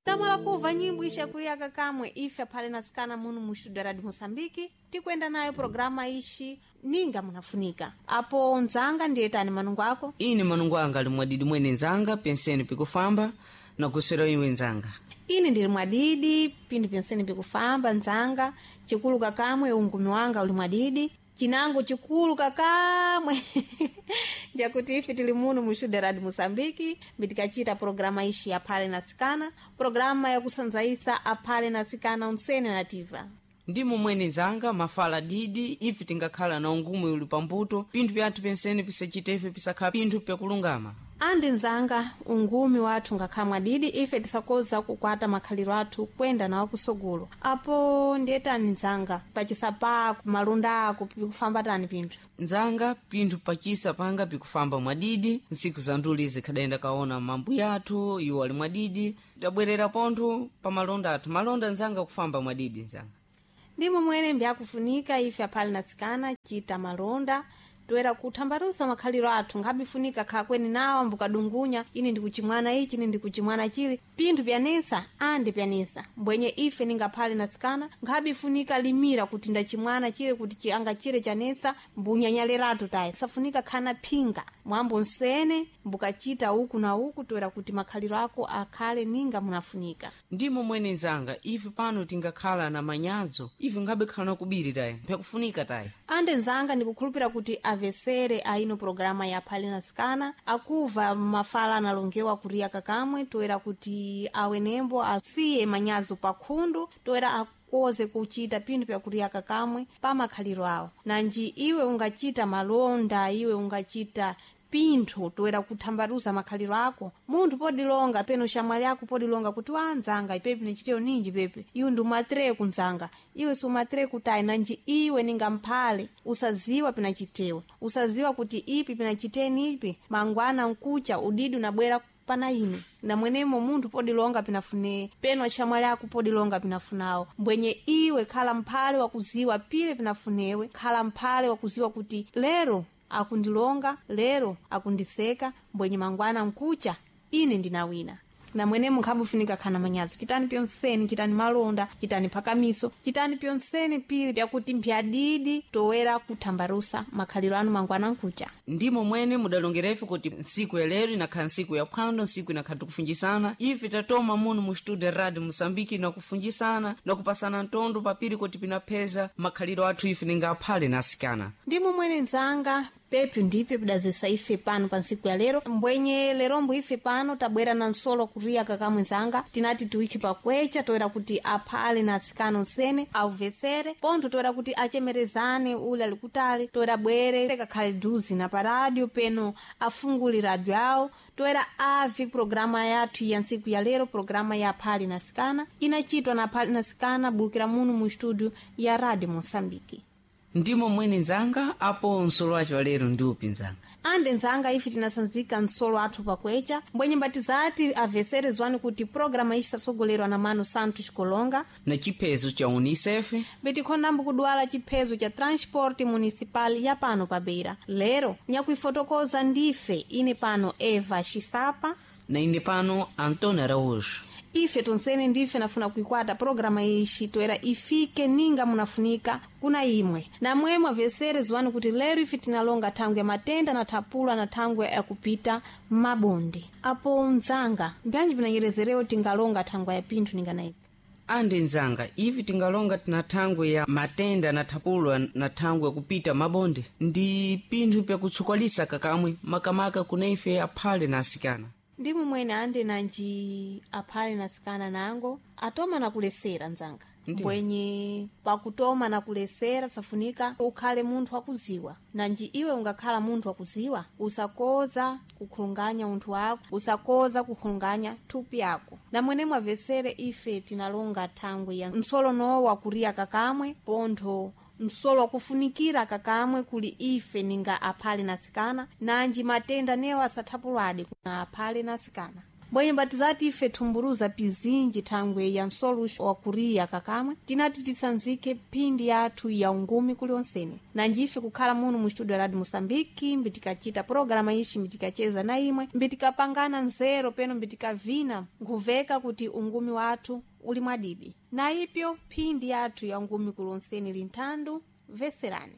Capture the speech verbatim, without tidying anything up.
Tamala kuva nyimbo ishakuliaka kamwe ife aphale nasikana munu mu studio Radio Moçambique tikwenda nayo programa ishi ninga munafunika apo nzanga ndiyetani manungo ako. Ine manungo anga ali mwadidi mwene nzanga penseni pikufamba nakusera iwe nzanga. Ine ndili mwadidi pinthu penseni pikufamba nzanga chikulu kakamwe ungumi wanga uli mwadidi chinango chikulu kakamwe njakuti ife tili muno mu studio Radio Moçambique mitikachita programa ishi aphale nasikana, programa yakusanzaisa aphale nasikana unsene nativa. Ndimo mwene nzanga mafala didi ife tingakhala na ungumi uli pambuto pinthu pyathu penseni pisachita ife pisakhala pinthu pyakulungama. Andi nzanga ungumi wathu ngakhala mwadidi ife tisakoza kukwata makhaliro athu kwenda nawo kusogolo. Apo ndiyetani nzanga pachisapako malunda ako pikufamba tani pinthu? Nzanga pinthu pachisa panga pikufamba mwadidi ntsiku za nduli zikhadayenda kaona mambuya athu iwo ali mwadidi tabwerera pontho pa malonda athu malonda nzanga kufamba mwadidi nzanga. Ndimo mwene mbyakufunika ife aphale nasikana chita malonda toera kuthambalusa makhaliro athu nkhabifunika khakweni nawo ambukadungunya ine ndikuchimwana ichi ine ndikuchimwana chili pinthu pyanesa andi pyanesa mbwenye ife ningaphale nasikana nkhabifunika limira kuti ndachimwana chile kuti chi- anga chile chanesa mbunyanyaliratu tayi safunika khana phinga mwambo nsene mbukachita uku na uku toera kuti makhaliro ako akhale ninga munafunika. Ndimo mwene nzanga ife pano tingakhala na manyadzo ife nkhabekhala na kubiri tayi mpyakufunika tayi. Ande nzanga ndikukhulupira kuti avesere aino programa ya aphale nasikana akuva mafala analongewa kuriya kakamwe toera kuti awenembo asiye manyazo pakhundu toera akoze kuchita pinthu pyakuliya kakamwe pa makhaliro awo. Nanji iwe ungachita malonda iwe ungachita pinthu toera kuthambaluza makhaliro ako munthu podilonga peno shamwali ako podilonga kuti wa nzanga ipepi nichiteyo ninji pepe iwe ndiumatere kunzanga iwe siumatere kutayi nanji iwe ningamphale usaziwa pinachitewe usaziwa kuti ipi pinachiteni ipi mangwana nkucha udidi unabwera pana ine namwenemo munthu podilonga pinafune peno axamwali ako podilonga pinafunawo mbwenye iwe khala mphale wakuziwa pile pinafunewe khala mphale wakuziwa kuti lero akundilonga lero akundiseka mbwenye mangwana nkucha ine ndinawina. Namwenemo nkhabufunika khana manyazo chitani pyonseni chitani malonda chitani phakamiso chitani pyonseni pili pyakuti mpyadidi toera kuthambalusa makhaliro anu mangwana nkucha. Ndimo mwene mudalongera ife kuti ntsiku ya lero inakhala ntsiku ya phwando ntsiku inakhala tikufunjisana ife tatoma muno mu studio Radio Moçambique nakufunjisana nakupasana ntondo papiri kuti pinapheza makhaliro athu ife ninga aphale na asikana. Ndimo mwene nzanga pepyu ndipyo pidazisa ife pano pa ntsiku ya lero mbwenye lerombo ife pano tabwera na nsolo kuriya kakamwe nzanga tinati tiwikhe pakwecha toera kuti aphale na atsikana onsene auvesere pontho toera kuti achemerezane ule ali kutali toera bwere kakhale duzi na paradio peno afungule radio awo toera avi programa yathu ya ntsiku ya lero programa ya aphale na atsikana inachitwa na aphale na atsikana bulukira muno mu studio ya Radio Moçambique. Ndimo mwene nzanga apo nsolo wacho wa lero ndi upi nzanga? Ande nzanga ife tinasanzika nsolo athu pakwecha mbwenye mbatizati avesere zwani kuti programa ichi sasogolerwa na Mano Santos Kolonga na chiphezo cha UNICEF betikhonambo kudwala chiphezo cha transport municipal ya pano pa Beira. Lero nyakuifotokoza ndife ine pano Eva Xisapa na ine pano Antônio Araújo. Ife tonsene ndife nafuna kuikwata programa ishi toera ifike ninga munafunika kuna imwe namwemwe avesere ziwani kuti lero ife tinalonga thangwe ya matenda na thapulwa na thangwe yakupita mabonde. Apo nzanga mbyanji pinanyerezerewo tingalonga thangwe ya pinthu ninga naipi? Andi nzanga ivi tingalonga tina thangwe ya matenda na thapulwa na thangwe yakupita mabonde ndi pinthu pyakutsukwalisa kakamwe makamaka kuna ife aphale na asikana. Ndimo mwene ande nanji aphale nasikana nango atoma nakulesera nzanga. Ndiyo. Mbwenye pakutoma nakulesera safunika ukhale munthu wakuziwa nanji iwe ungakhala munthu wakuziwa usakoza kukhulunganya unthu wako usakoza kukhulunganya thupi yako. Namwene mwavesere ife tinalonga thangwe ya msolo nowo wakuriya kakamwe pontho msolo wakufunikira kakamwe kuli ife ninga aphale nasikana nanji matenda newo asathapulwadi kuna aphale nasikana. Bwenye batizati ife thumburuza pizinji thangwe ya nsoluxo wa kuriya kakamwe tinati tisanzike phindi yathu ya ungumi kulionse nanjife kukhala muno mu studio radio Moçambique mbitikacita programa ixi mbitikacheza na imwe mbitikapangana nzero peno mbitikavina nkhuveka kuti ungumi wathu uli mwadidi na ipyo phindi yathu ya ungumi kulonseni linthandu veserani.